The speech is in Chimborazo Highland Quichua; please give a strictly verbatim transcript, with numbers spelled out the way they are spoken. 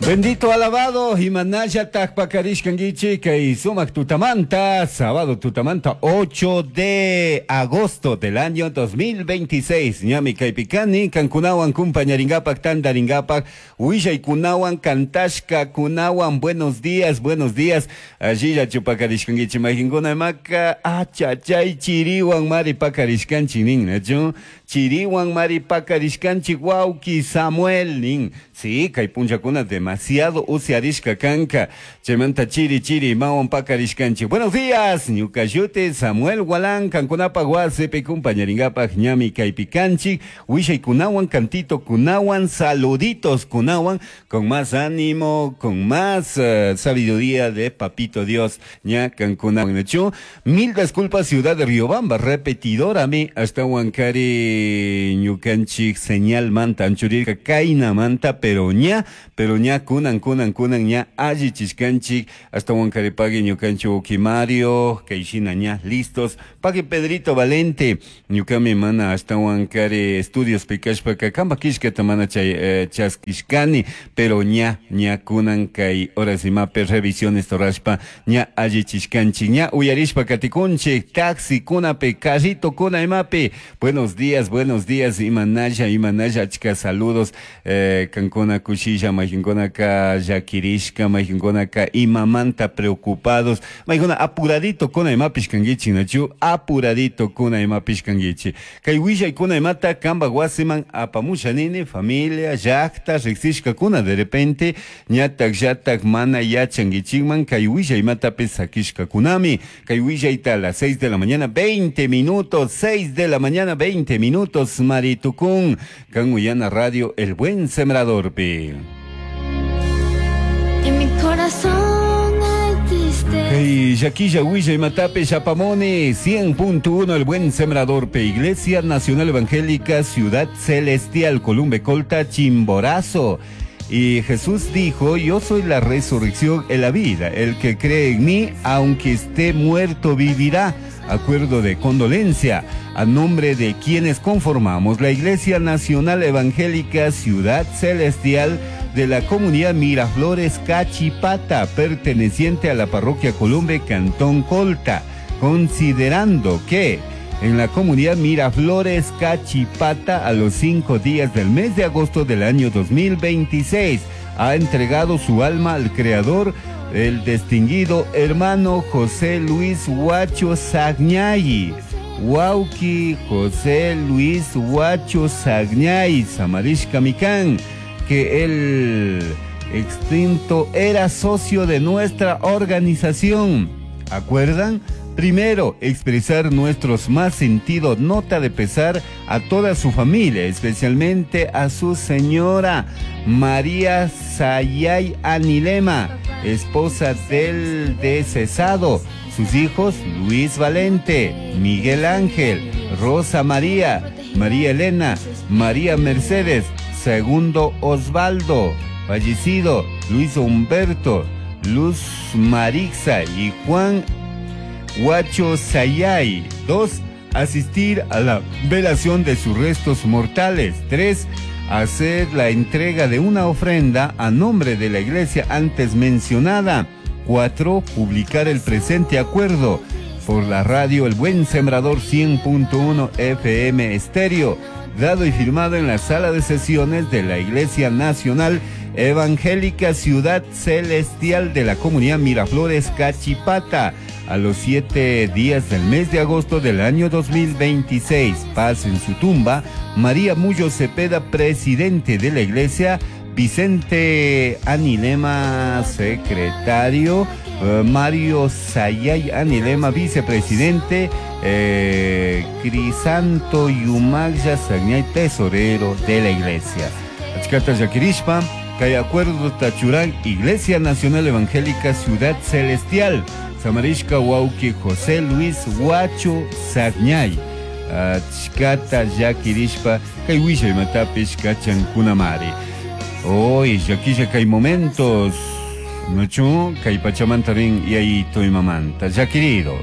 Bendito alabado, Imanaya Takpakarishkanguichi, kay sumak tutamanta, sábado tutamanta, ocho de agosto del año dos mil veintiséis. Ñami kaypikani, kankunawan kumpañaringapak, tandaringapak, willaykunawan, kantashka kunawan, buenos días, buenos días. Allilla chupakarishkanguichi, majinkuna maka, achachay chiriwan mari pakarishkanchi nin, nachu? Chiriwan mari pakarishkanchi, wauki Samuel nin. Sí, kay punchakuna demasiado usiarishka kanka. Chaymanta chiri chiri mawan pakarishkanchi. Buenos días, ñuka Samuel Gualán, kankunapaq wasipi kumpañaringapaq ñami kaypikanchik, willaykunawan, cantito kunawan, saluditos kunawan, con más ánimo, con más uh, sabiduría de Papito Dios, ña kankunawan. Mil disculpas, Ciudad de Riobamba, repetidora mi, hasta Huancari ñukanchik señal manta, anchurirka kaina manta, pero ña, pero ña kunan kunan kunan ña alli chishkanchik, hasta Huancaripagui ñukanchik uki Mario, kaishina ña listos, pagui Pedrito Valente, ñukami mana hasta Huancari estudios pikashpaka kamba kishkata mana chay eh, chaskishkani, pero ña ña kunan kay horas imape revisiones torashpa ña alli chishkanchik, ña uyarishpa katikunchik, taxi kunape, carrito kuna imape, buenos días, buenos días, imanaya, imanaya, achka saludos, eh, kankuna kushilla, majinkunaka llakirishka, majinkunaka imamanta preocupados, majinkuna apuradito kuna imapish kanguichi, nachu, apuradito kuna imapish kanguichi. Kay willay kuna imata kamba wasiman apamusha nini, familia, llaqta, riqsishka kuna, de repente, ñatak llatak mana yachanguichikman, kay willay imatapi sakishka kunami, kay willayta a las seis de la mañana, veinte minutos, seis de la mañana, veinte minutos, Maritucún, Canuyana Radio, El Buen Sembrador. Pi. En mi corazón hay tristeza. Hey, Yaquilla, Huilla y Matape, Chapamone, cien punto uno, El Buen Sembrador, P. Iglesia Nacional Evangélica, Ciudad Celestial, Columbe, Colta, Chimborazo. Y Jesús dijo, yo soy la resurrección y la vida. El que cree en mí, aunque esté muerto, vivirá. Acuerdo de condolencia a nombre de quienes conformamos la Iglesia Nacional Evangélica Ciudad Celestial de la comunidad Miraflores Cachipata, perteneciente a la parroquia Columbe, Cantón Colta, considerando que en la comunidad Miraflores Cachipata, a los cinco días del mes de agosto del año dos mil veintiséis, ha entregado su alma al Creador, el distinguido hermano José Luis Huacho Sagñay. Huauqui José Luis Huacho Sagñay, Samarishka Micán, que el extinto era socio de nuestra organización. ¿Acuerdan? Primero, expresar nuestros más sentido nota de pesar a toda su familia, especialmente a su señora María Sayay Anilema, esposa del decesado, sus hijos Luis Valente, Miguel Ángel, Rosa María, María Elena, María Mercedes, Segundo Osvaldo, fallecido, Luis Humberto, Luz Marixa y Juan Huacho Sayay. Dos, asistir a la velación de sus restos mortales. Tres, hacer la entrega de una ofrenda a nombre de la iglesia antes mencionada. Cuatro, publicar el presente acuerdo por la radio El Buen Sembrador cien punto uno F M Estéreo, dado y firmado en la sala de sesiones de la Iglesia Nacional Evangélica Ciudad Celestial de la comunidad Miraflores Cachipata, a los siete días del mes de agosto del año dos mil veintiséis. Paz en su tumba, María Mullo Cepeda, presidente de la iglesia, Vicente Anilema, secretario, eh, Mario Sayay Anilema, vicepresidente, eh, Crisanto Yumagya Sagñay, tesorero de la iglesia. Achkata Yakirishpa, kay acuerdo Tachurán, Iglesia Nacional Evangélica Ciudad Celestial, Samarishka Wauki José Luis Huacho Sagñay, Achkata Yakirishpa, kay wishay matapish kachankunamari. Hoy, yakilla kay momentos, nochu, kay pachamantarin yayito y mamanta. Ya querido.